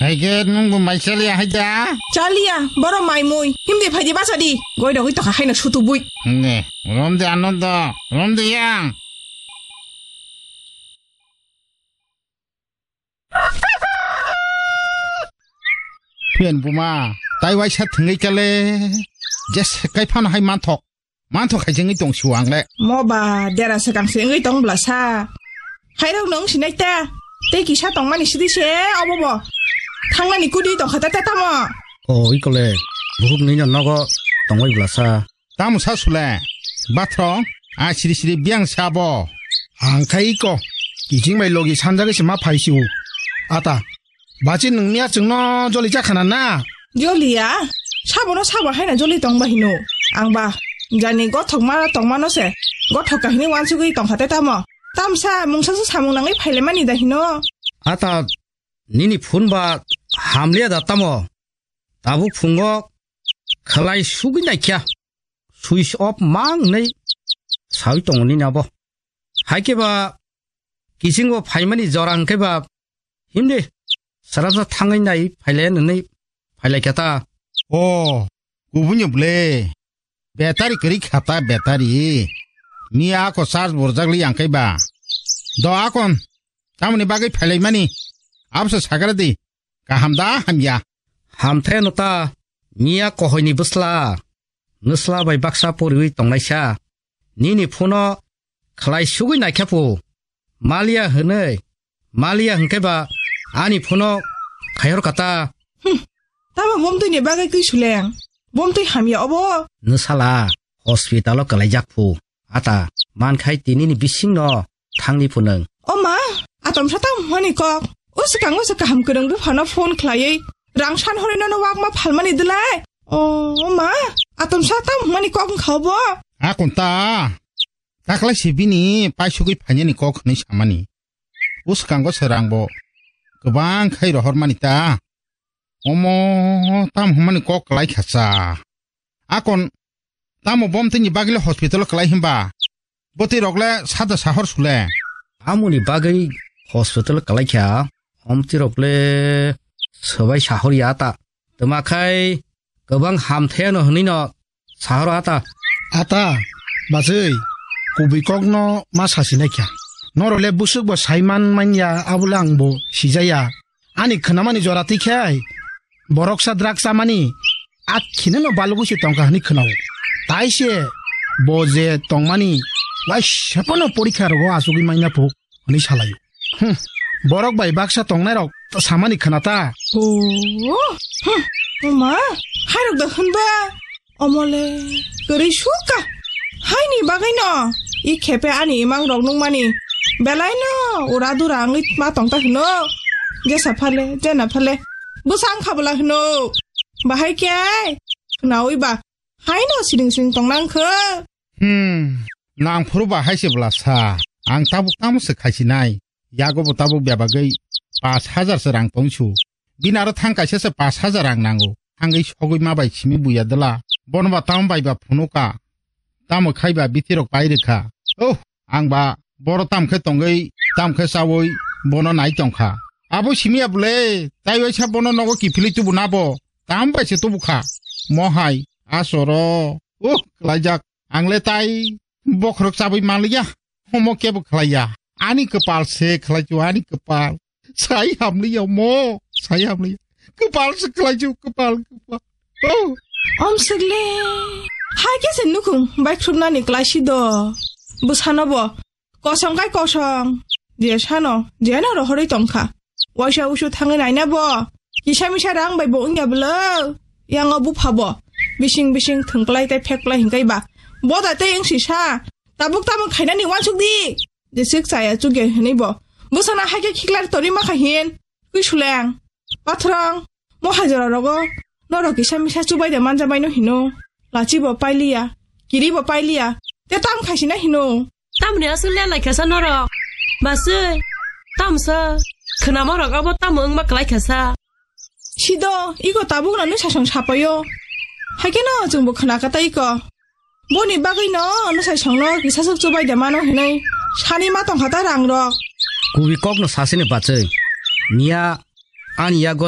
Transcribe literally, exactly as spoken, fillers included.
Hai khe nwng bo mai chaliya hai da? Chaliya, borok mai mui. Himdi phaidi bachadi. Goi rogwi tokha haino sutu bui. Ne, romde Anando, romde yang. Phiyan buma, tai waisa thwngwi kale. Je sekai phano hai manthok. Manthok hai jengwi tong siu ang le. Mo ba, dera swkang se wngwi tong bla sa. Hairok nung sinai ta. Tei kisa tongmani sidi se obo bo. Thangnani kudi tongkha ta ta tamo. O, i kole. Buhuk nini nogo tongwi bla sa. Tamo sa sule. Bathro, a siri siri biang sa bo. Ang khai iko. Kijing bai logi sanjagwi se ma phai siu. Ata. Bachi nungni a chwngno joli chakhana na? Joliya, sabono sabo haina joli tongba hino. Angba, jani gothok mara tongmano se, gothok kahini wansugwi tongkhate tamo. Tamsa mungsa se samung nangwi phailemani da hino. Ata, nini phone ba hamliya da tamo? Tabuk phungo khlai sugwi naikha. Switch off mang nei sawi tongo nini abo. Haikhe ba kisingo phaimani jora hwnkhe ba himdi sarabsa thangwi nai phaile nwnwi phailai kha ta. O, kubunyo ble. Betari kwrwi kha ta betari. Miya ako charge borjak li ang khe ba. Do akon, tamoni bagwi phailaimani? Absa sagra di. Kaham da hamya? Hamthe no ta, miya kohoini bwsla. Nwsla bai baksa poriwi tongnaisa. Nini phuno khlai sugwi naikha phu. Maliya hwnwi. Maliya hwnkhe ba ani phuno khaihor kata. Hmm. Tamo bomtwi ni bagwi twi suleng. Bomtwi hamya obo. Nwsala hospital o kwlaijak phu. Ata, mankhai tinini bisingno thangni phunung. O ma, atom sa tamo hwnmani kok. O swkang o se kaham kwrwng buphano phone khlaiwi rang san hwnwi nono wakma phalmani dwlai. O ma, atom sa tamo hwnmani kok wngkha obo. Akon ta, taklai se bini paisugwi phainani kok hwnwi samani. O swkango se rangbo kwbang khai rohormani ta. Omo, tamo hwnmani kok kwlai kha cha. Akon, tamo bomtwini bagwile hospital kwlai hwnba? Bwtwi rokle sada sahor sule. Amoni bagwi hospital kwlai kha, omtwi rokle swbai sahor ya ta. Twma khai kwbang hamtheno hwnwi no sahoro ata. Ata, bachwi, kubui kokno ma sasinai kha. Norok le busuk bo saiman manya, abole ang bo sijaya. Ani khwnamani jora twi khe borok sa drug chamani akhini no balugwi se tongkha hwnwi khwnao. Tai se bo je tongmani waisa phano porikha rogo achugwi manya phu hwnwi salaio. Hmm. Borok bai baksa tongnairok samani khna ta. Oh, hmm. Oma, hairok da hwnba? Omole, kwrwi sukha. Haini bagwino i khepe ani imang rok nungmani belaino ura dura wngwi ma tongta hwno. Jesa phale, jena phale. Bwsang khabla hwno. Bahai khe khnawi ba. Haino siring siring tongnang kho. Hmm, nang phuru ba hai se bwla sa. Ang tabuk tamo se khaisinai. Yago bo tabuk bebagwi pash hajar se rang tongsu. Bini aro thang kaisa se pash hajar rang nango. Thangwi sogwi ma bai simi buya dwla. Bono ba tamo bai ba phunuka. Tamo khai ba bithi rok pai rwkha. Oh, ang ba boro tam khe tongwi, tam khe chawi bono nai tongkha. Abo simi ya bwle, tai waisa bono nogo kiphilwi tubu na bo. Tam bai se tubu kha. Mo hai, asoro. Oh, klaijak. Ang le tai bokhorok chabwi manliya, homo kebo khlaiya. Ani kwpal se khlaichu, ani kwpal. Sai hamliya mo, sai hamliya. Kwpal se khlaichu, kwpal, kwpal. Oh. Om sikle. Hai khe se nukhung bai khrupnani klaisi do. Bwsano bo kosong kai kosong. Je sano, je no rohorwi tongkha. Waisa usu thangwi naina bo. Kisa misa rang bai bo wngya bwlo. Yango bupha bo. Bising bising thwngplai tei phekplai hingkai ba. Boda tei wngsi sa. Tabuk tamo khainani wansuk di. Jesik chaya chukya hinwi bo. Bwsana haikhe khiklari tori makha hin. Kwi suleng. Pathrang. Mo hajora rogo. Norok kisa misa chubai de manjabai no hino. Lachi bo pailiya. Kiri bo pailiya. Te tam khaisina hino. Tamni aswk le laikha sa norok? Baswi, tamsa, khwnama rok abo tamo wngma kwlai kha sa. Sido, iko tabuk no nwsasong sapaio. Haikhe no chwngbo khwna kha ta iko. Boni bagwi no nwsasong no kisa swk chubai de mano hinwi sani ma tongkha ta rang rok. Kubui kok no sasini bachwi. Miya ani yago